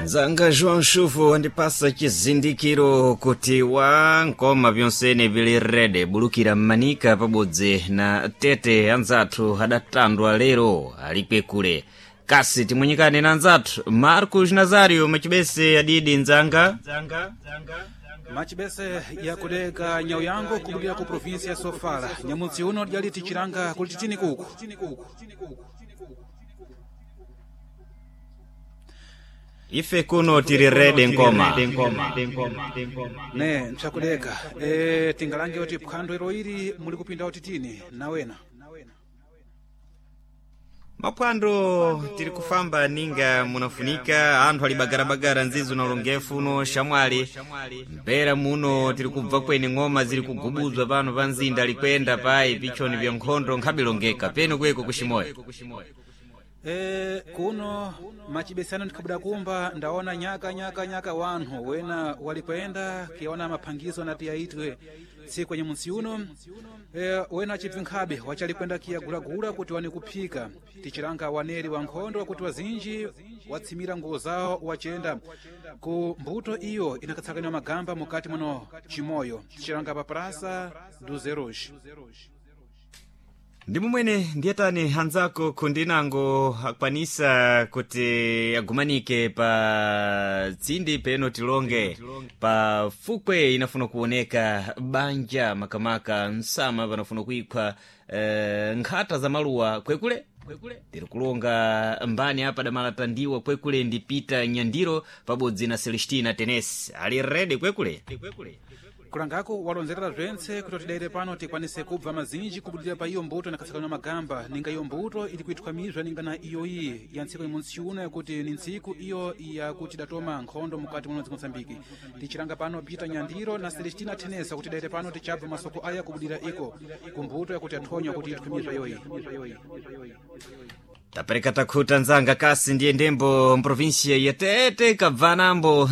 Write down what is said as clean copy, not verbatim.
Nzanga João Chuvo wandipasa chizindikiro kuti wa nkoma vyonsene vili rede bulukira mmanika pabodzi na tete anzathu adatandwa lero alikwekule kasi timwenyekane na anzathu Marcos Nazario macibese adidi nzanga Macibese yakudeka nyau yangu kubudira ku provinsi ya Sofala. Nyamutsi uno dyali tichilanga kuli titini kuku. Ife kuno tili rede nkoma. Ne, mpsakudeka. Tingalange kuti phwando ilo ili muli kupinda utitini nawena. Maphwando tiri kufamba ninga munafunika anthu ali bagarabagara nzizo na ulongefu uno shamwali mbera muno tiri kubva kweni ng'oma ziri kugubuzwa pano pa mzinda likwenda payi pichoni vya nkhondo nkhabilongeka peno kweko kuximoyo. Kuno macibesano ndikhabuda kumba ndaona nyaka nyaka nyaka wanthu wena walikwenda kiona maphangizo nati yaitwe tsiku yenye munsi uno. Wena acibvi nkhabe wachalikwenda kiyagulagula kuti wane kuphika tichilanga waneri wa nkhondo kuti wazinji watsimira nguwo zawo wachenda ku mbuto iyo inakatsakaniwa magamba mukati muno chimoyo tichilanga pa Praça dos Heróis. Ndi mumwene ndiyetani anzako khundinango akwanisa kuti agumanike pa tsindi peno tilonge pa fukwe inafuna kuoneka banja makamaka msama panafuna kuikhwa nkhata za maluwa kwekule tiri kulonga mbani apa damalatandiwa kwekule ndi Peter Nyandiro pabodzi na Celestina Tenesi ali rede kwekule. Kulangako walonzerera bzentse kuti tidaire pano tikwanise kubva mazinji kubudira pa iyo mbuto inakatsakaniwa magamba ninga iyo mbuto ili kuithwamizwa ninga na iyoyi ya ntsiku imuntsi uno yakuti ni ntsiku iyo yakuti idatoma nkhondo mukati muno dziko Mosambiki. Tichilanga pano Peter Nyandiro na Celestina Tenesa kuti tidaire pano tichabva masoko aya kubudira iko kumbuto yakuti yathonywa kuti ithwamizwa iyoyi. Tapereka takhuta nzanga kasi ndiye ndembo mprovinsia ya Tete kabvanambo.